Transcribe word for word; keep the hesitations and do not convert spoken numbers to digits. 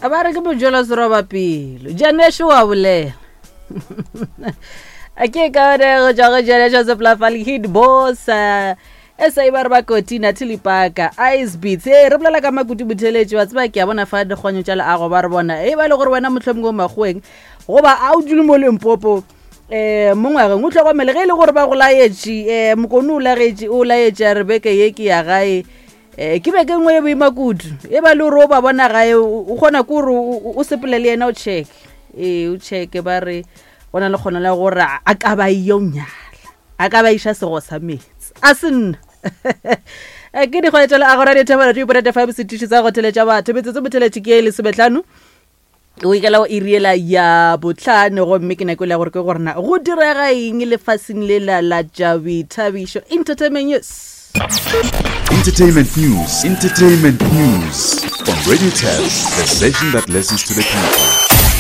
Ba re ke mojelo seroba pelo. Janesho wa bolela. A ke ka one go tšwa go Janesho Seplafal Hit Boss. eh, S A ba re ba koti Natalie Parker Ice Beats. Ee, re bolela ka Makutu Botheletši, wa tseba ke a bona fa dikgwanyo tša leago ba re bona. E ba e le gore wena mohlomongwe o makgoweng goba a o dule mo Limpopo um mo ngwageng o hlokomele ge e le gore ba go laetše um mokone o lagetše o laetše a re beke ye ke ya gae um ke beke nngwe e boima kudu e ba le gore o ba bona gae o o kgona ke gore o o sepele le yena o check ee o checke ba re go na le kgono la gore a ka ba yo nyala a ka ba iša sego sa meetse a se nna Eh, ke dikgwetša le agora dithebela two point five setiši sa go theletša batho metsotso motheletši ke e lesometlhano o ikela go iriela ya botlhano gomme ke nako e le ya gore ke gore na go direga eng lefaseng le la la tša boithabišo entertainment news. Entertainment news, entertainment news on Radio Tap, the station that listens to the people.